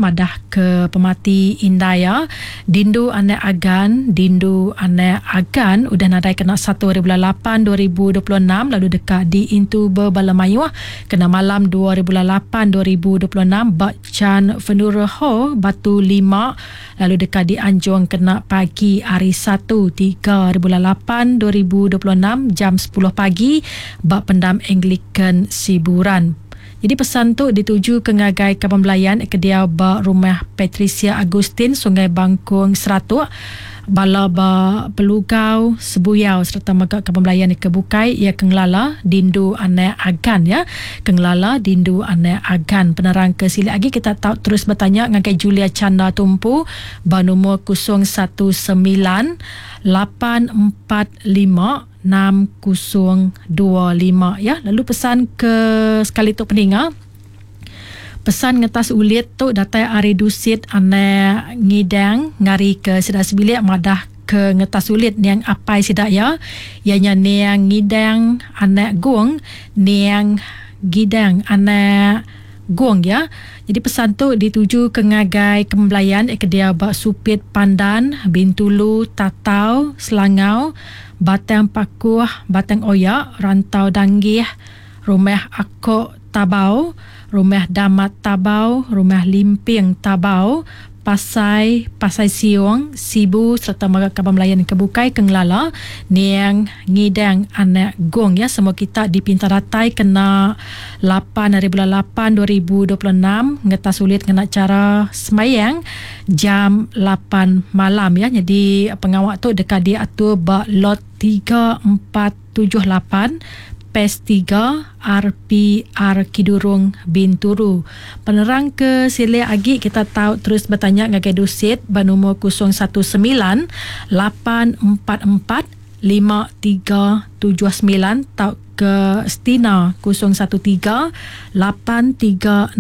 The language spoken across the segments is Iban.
madah ke pemati indai iya Dindu Anak Agan Dindu Anak Agan udah nadai kena satu hari bulan lapan 2026 lalu deka diintu bebala mayuh kena malam dua hari bulan lapan 2026 ba Chan Funeral Hall Batu Lima lalu deka dianjung kena pagi hari Satu tiga hari bulan lapan 2026 jam sepuluh pagi ba Pendam Anglican Siburan. Jadi pesan tu dituju ke ngagai kaban belayan ke diau ba Rumah Patricia Agustin Sungai Bangkung Seratuk, bala ba Pelugau Sebuyau sereta mega kaban belayan ke bukai iya ke ngelala Dindu Anak Agan ya. Ke ngelala Dindu Anak Agan. Penerang ke silik agi kita tau terus betanya ngagai Julia Chanda Tumpu ba numur 019 845 6025 ya. Lalu pesan ke sekali tu peninga, pesan ngetas ulit tu datai ari Dusit Anak Ngidang ngari ke sida sebilik madah ke ngetas ulit niang apai sida ya, ianya niang Ngidang Anak Gong, niang Gidang Anak Gong ya. Jadi pesan tu dituju ke ngagai kembelayan ke dia ba Supit Pandan, Bintulu, Tatau, Selangau, Batang Pakuh, Batang Oya, Rantau Danggih, Rumah Akok Tabau, Rumah Damat Tabau, Rumah Limping Tabau, Pasai, Pasai Siong, Sibu sereta mega kaban belayan ke bukai ke ngelala niang Ngidang Anak Gong ya. Semua kita dipinta datai kena lapan hari bulan lapan 2026 ngetas ulit ngena cara semayang jam lapan malam ya. Jadi pengawa tu deka diatur ba lot 3478 PES 3 RPR Kidurong Binturu. Penerang ke silik agi kita tau terus betanya ngagai Dusit ba numur 019 844 5379 tau ke Stina 013 836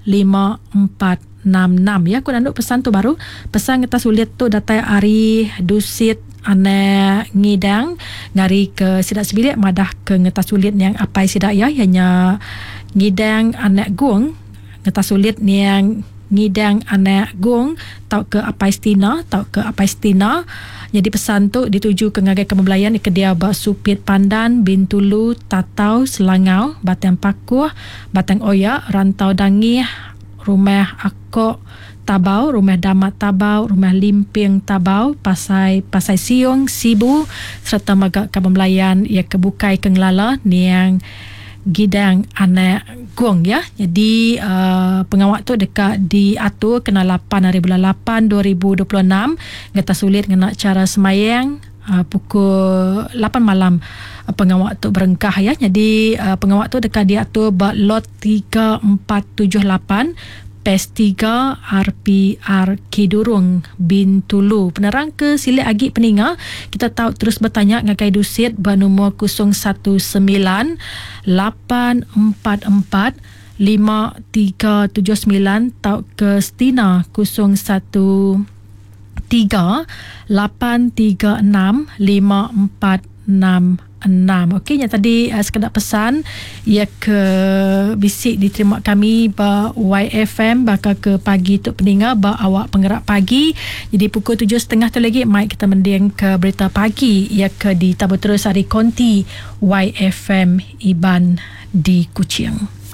5466 ya. Aku nandu pesan tu baru. Pesan ngetas ulit tu datai ari Dusit Anak Ngidang ngari ke sida sebilik madah ke ngetas ulit niang apai sida ya, ianya Ngidang Anak Gong. Ngetas ulit niang Ngidang Anak Gong tau ke apai Stina tau ke apai Stina. Jadi pesan tu dituju ke ngagai kemebelayan ke dia ba Supit Pandan, Bintulu, Tatau, Selangau, Batang Pakuh, Batang Oya, Rantau Dangih, Rumah Akok Tabau, Rumah Damat Tabau, Rumah Limping Tabau, Pasai Pasai Siong, Sibu sereta mega kaban belayan iya ke bukai ke ngelala niang Gidang Anak Gong ya. Jadi pengawa tu deka diatur kena lapan hari bulan lapan 2026 ngeta sulit ngena cara semayang pukul lapan malam pengawa tu berengkah ya. Jadi pengawa tu deka diatur ba lot 3478 PES 3 RPR Kidurong Bintulu. Penerang ke silik agi peninga, kita tau terus bertanya ngagai Dusit ba numur 019 844 5379 tau ke Stina 013 836 5466. Okey, nya tadi sekeda pesan ia ke bisi diterima kami ba YFM bakal ke pagi tu peninga ba awak penggerak pagi. Jadi pukul tujuh setengah tu lagi mai kita mending ke berita pagi ia ke ditabur terus ari konti YFM Iban di Kuching.